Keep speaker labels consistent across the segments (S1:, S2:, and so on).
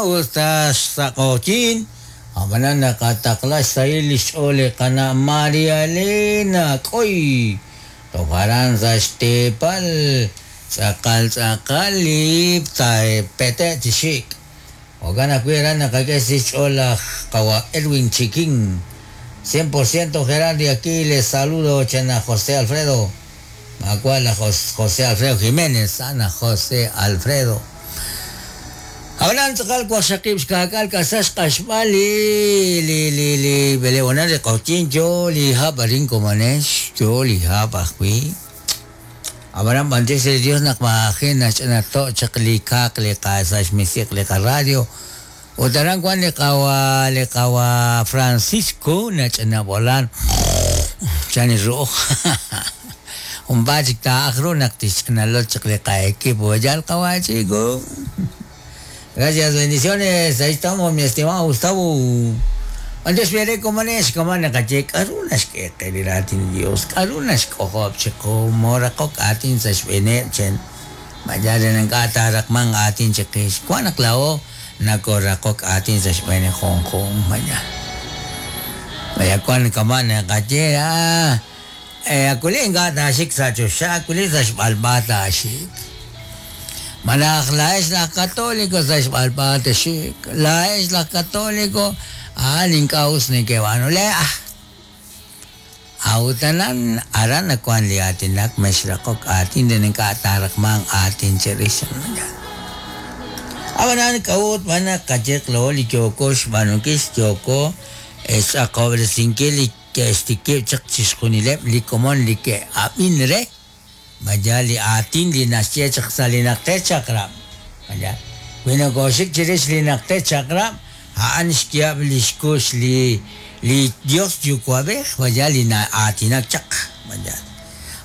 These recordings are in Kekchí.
S1: Usta sa' q'oqyink, ab'anan naqataqla xsahil li xch'ool li qana' María Elena K'oy toj aran sa' xteepal tz'aqal tz'aqal li pete' chi xik'. Jo'kan ajwi' aran naqak'e xsahil xch'ool laj qawa' Edwin Chiquín. 100% Gerardo aquí les saludo chana José Alfredo. Maawa' laj José Alfredo Jiménez, a'an laj José Alfredo. Ab'anan tz'aqal waqxaqib' xkaak'al k'asal xq'axb'al li li li li b'eleonal li q'oqyink yo li hab' arin komonex, yo li hab' ajwi'. Ab'anan b'antiox re li Dios naq maaji' naxch'ina to' chaq li kaaq li qa sa' xmisiq li qaradio. Ut aran wan li qawa li qawa Francisco nach'inab'olan chan li ru'uj. Junpaat chik taa'aj ru naq tixch'inalot chaq li qa'equipo. Yal qawa chico. Gracias, bendiciones. Ahí estamos, mi estimado Gustavo. B'antiox b'e re komonex, kama' naqaye k'a'ru naxk'e qe li raatin li Dios, k'a'ru naxk'ojob' chiqu, mooraqok aatin sa' xb'eeneb' chen maya re naq ink'a' taaraqmanq aatin chiqix. Wan naq laa'o nakooraqok aatin sa' xb'een li junjunq maya. Maya wan kama' naqaye, ah, akuli ink'a' taaxik sa' choxa, akuli sa' xb'alb'a taaxik. Malaj laa'ex laj Católico sa' xb'alb'a texik, laa'ex laj Católico a'an ink'a' us nekeb'aanu le ah. A'ut aran aran nawank li aatinak mexraqok aatin re ink'a' taaraqmanq aatin cherix. Ab'anan k'a'ut b'an naq qayeq laa'o li yooko xb'aanunkil yooko xtz'aqob'resinkil li ke'xtikib' chaq chixjunileb' li komon li ke'ab'in re maya li aatin li naxye chaq sa' li najter chaq'rab'. Maya wi nokooxik chirix li najter chaq'rab' a'an xyaab' li xkux li li Dios Yuwa'b'ej maya li na'aatinak chaq. Maya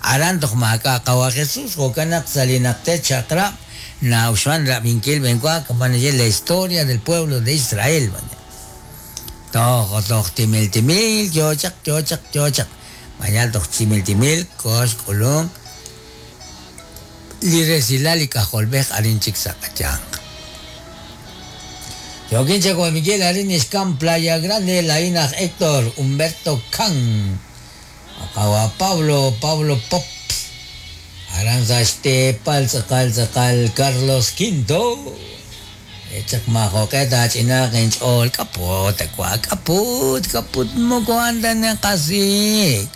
S1: aran toj maak'a' qawa Jesús jo'kan naq sa' li najter chaq'rab' na'uxman rab'inkil b'enwa kama naxye la historia del pueblo de Israel. Maya toj toj timil timil yo chaq yo chaq yo chaq maya toj timil timil kox k'ulunk li resilal li k'ajolb'ej arin chik sa' qayanq. Yookin chawab'inkil arin Ixcán Playa Grande laa'in aj Héctor Humberto Can. Qawa Pablo Pablo Pop. Aran sa' xteepal tz'aqal tz'aqal Carlos V. Chaq maajo'q'e taach'inaaq inch'ool k'aput wa k'aput k'aput moko a'an ta naqasik'.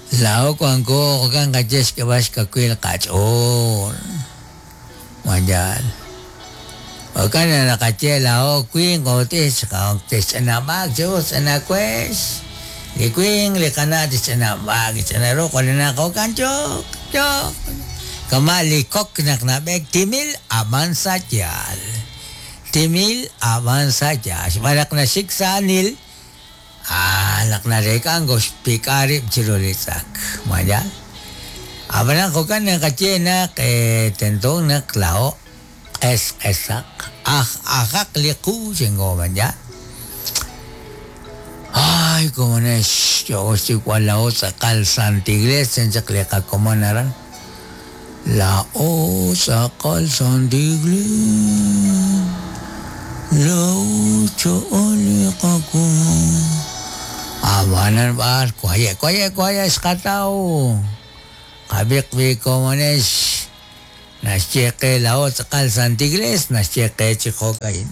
S1: Laa'o wanko jo'kan qaye xk'eb'al xkawil qach'ool. Mayal. Jo'kan naq naqaye laa'o winq ut ixq tixch'inab'aak chi us ch'inawex. Li winq li qana' tixch'inab'aak ch'ina ruq' li jo'kan yook yook. Kama' li kok naq nab'eek timil ab'an sa' yaal. Timil ab'an sa' yaal. Xb'aan naq naxik sa' aanil ah naq nareek'an koxpik'a rib' chiru li tz'ak. Mayal. Ab'anan jo'kan naqaye naq tento naq laa'o q'esq'esaq aj ajaq li qu chengo maya. Ay, komonex yooko xsik'b'al laa'o tz'aqal Santa Iglesia chaq li qakomon aran. Laa'o tz'aqal Santa Iglesia, laa'o cha'al li qakomon. Ab'anan b'ar kwaye kwaye kwaye xqataw. Qab'iq b'i komonex naxye qe laa'o tz'aqal Santa Iglesia naxye qe chi jo'ka'in.